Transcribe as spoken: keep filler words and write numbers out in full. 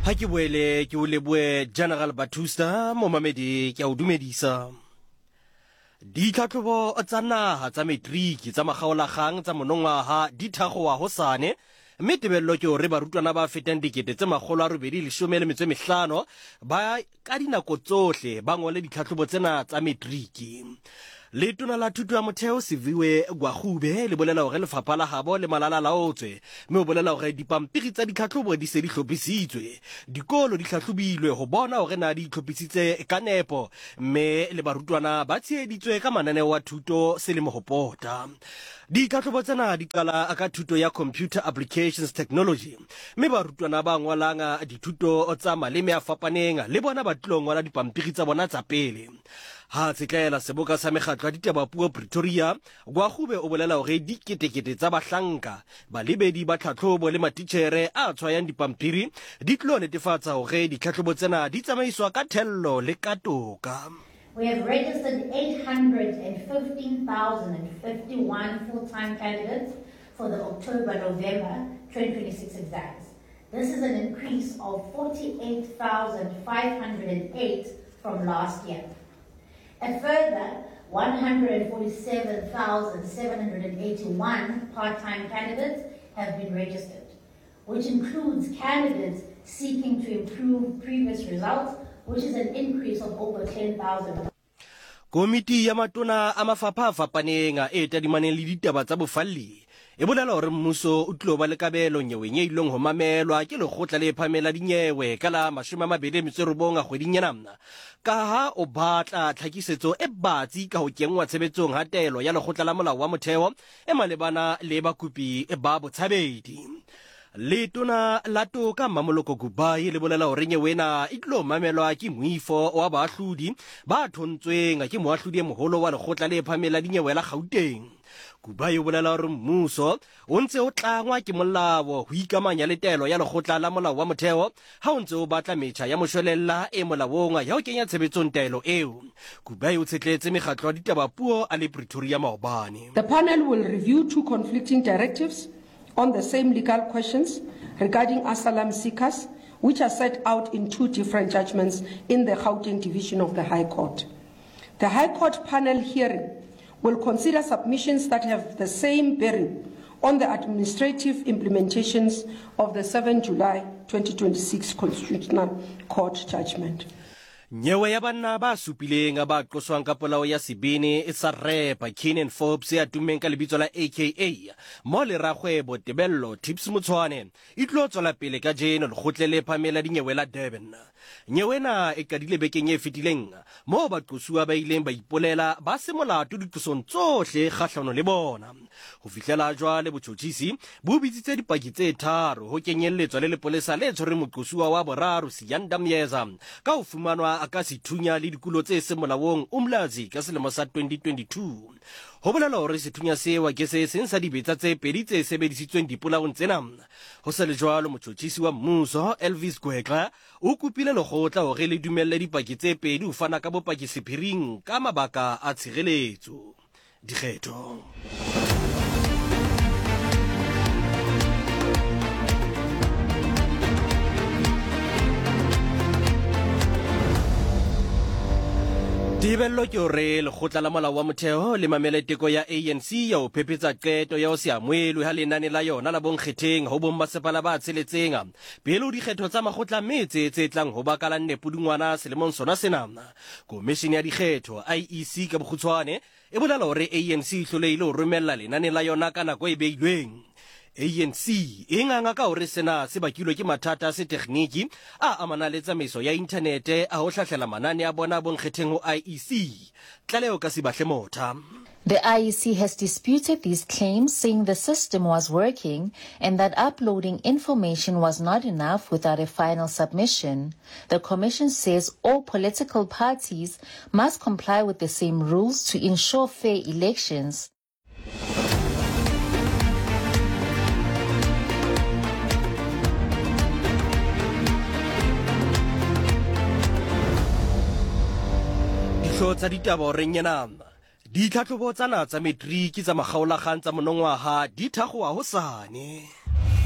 Ha ke boele ke o lebohe General Batusta, momamedi ke a o dumedisa. Ditlhatlhobo tsa naha tsa matriki tsa makgaolakgang tsa monongwaha di thakgowa hosane, mme tebello ke hore barutwana ba fetang dikete tse makgolo a robedi leshome le metso e mehlano ba ka dinako tsohle ba ngole ditlhatlhobo tsena tsa matriki. Letona la thuto ya motheo Siviwe Gwarube le bolela hore lefapha la habo le malala laotswe, mme o bolela hore dipampiri tsa ditlhatlhobo di se di hlophisitswe. Dikolo di hlahlobilwe ho bona hore na di itlhophisitse ka nepo, mme le barutwana ba tsheheditswe ka mananeo a thuto selemo ho pota. Ditlhatlhobo tsena di qala ka thuto ya Computer Applications Technology, mme barutwana ba ngwalang dithuto tsa maleme a fapaneng le bona ba tlilo ngola dipampiri tsa bona tsa pele. Ha tshetlela seboka sa mekgatlo ya ditaba puo Pretoria, Gwarube o bolela hore diketekete tsa bahlanka, balebedi ba tlhatlhobo le matitjhere a tshwayang dipampiri di tlo netefatsa hore ditlhatlhobo tsena di tsamaiswa ka thello le ka toka. We have registered eight hundred fifteen thousand fifty-one full-time candidates for the October-November twenty twenty-six exams. This is an increase of forty-eight thousand five hundred eight from last year. A further one hundred forty-seven thousand seven hundred eighty-one part-time candidates have been registered, which includes candidates seeking to improve previous results, which is an increase of over ten thousand. Komiti ya matona a mafapha a fapaneng e tadimaneng le ditaba tsa bofalli e bolela hore mmuso o tlilo ba le kabelo nyeweng e ileng ho mamelwa ke lekgotla le phahameng la dinyewe ka la mashome a mabedi a metso e robong a kgweding ena, ka ha o batla tlhakisetso e batsi ka ho kenngwa tshebetsong ha taelo ya lekgotla la molao wa motheo e malebana le bakopi ba botshabedi. Letona la toka Mmamoloko Kubayi le bolela hore nyewe ena e tlo mamelwa ke moifo wa baahlodi ba thontsweng ke moahlodi e moholo wa lekgotla le phahameng la dinyewe la Gauteng. Kubayi o bolela hore mmuso o ntse o tlangwa ke molao ho ikamanya le taelo ya lekgotla la molao wa motheo ha o ntse o batla metjha ya moshwelella e molaong ya ho kenya tshebetsong taelo eo. Kubayi o tshetletse mekgatlo ya ditaba puo a le Pretoria maobane. The panel will review two conflicting directives on the same legal questions regarding asylum seekers, which are set out in two different judgments in the Gauteng Division of the High Court. The High Court panel hearing will consider submissions that have the same bearing on the administrative implementations of the seventh of July twenty twenty-six Constitutional Court judgment. Nyewe ya banna ba supileng ba qoswang ka polao ya sebini e sa repa Keenan Forbes ya tummeng ka lebitso la A K A mo le rakgwebo Tebello Tips Motshwane e tlo tswela pele ka jeno lekgotle le phahameng la dinyewe la Durban. Nyewe ena e qadile bekeng e fetileng moo baqosuwa ba ileng ba ipolela ba se molato diqosong tsohle kgahlano le bona. Ho fihlela jwale botjhotjhisi bo bitsitse dipaki tse tharo ho kenyelletswa le lepolesa le tshwereng moqosuwa wa boraro Siyanda Myeza ka ho fumanwa ka sethunya le dikulo tse seng molaong Umlazi ka selemo sa twenty twenty-two. Ho bolela hore sethunya seo ke se seng sa dibetsa tse pedi tse sebedisitsweng dipolaong tsena. Ho sa le jwalo, motjhotjhisi wa mmuso Elvis Gwegla o kopile lekgotla hore le dumelle dipaki tse pedi ho fana ka bopaki sephiring ka mabaka a tshireletso. Dikgetho. Tebello ke hore lekgotla la molao wa motheo le mamele teko ya A N C ya ho phephetsa qeto ya ho se amohelwe ha lenane la yona la bonkgetheng ho bommasepala ba tsheletseng pele ho dikgetho tsa makgotla metse tse tlang ho baka la nne Pudungwana selemong sona sena. Komishene ya dikgetho I E C ka bokgutshwane e bolela hore A N C e hlolehile ho romella lenane la yona ka nako e beilweng. A N C e nganga ka hore sena se bakilwe ke mathata a setekgniki a amanang le tsamaiso ya inthanete a ho hlahlela manane a bona bonkgetheng ho I E C. Tlaleho ka Sibahle Motha. The I E C has disputed these claims, saying the system was working and that uploading information was not enough without a final submission. The commission says all political parties must comply with the same rules to ensure fair elections. Dihlooho tsa ditaba horeng ena. Ditlhatlhobo tsa naha tsa matriki tsa makgaolakgang tsa monongwaha di thakgowa hosane.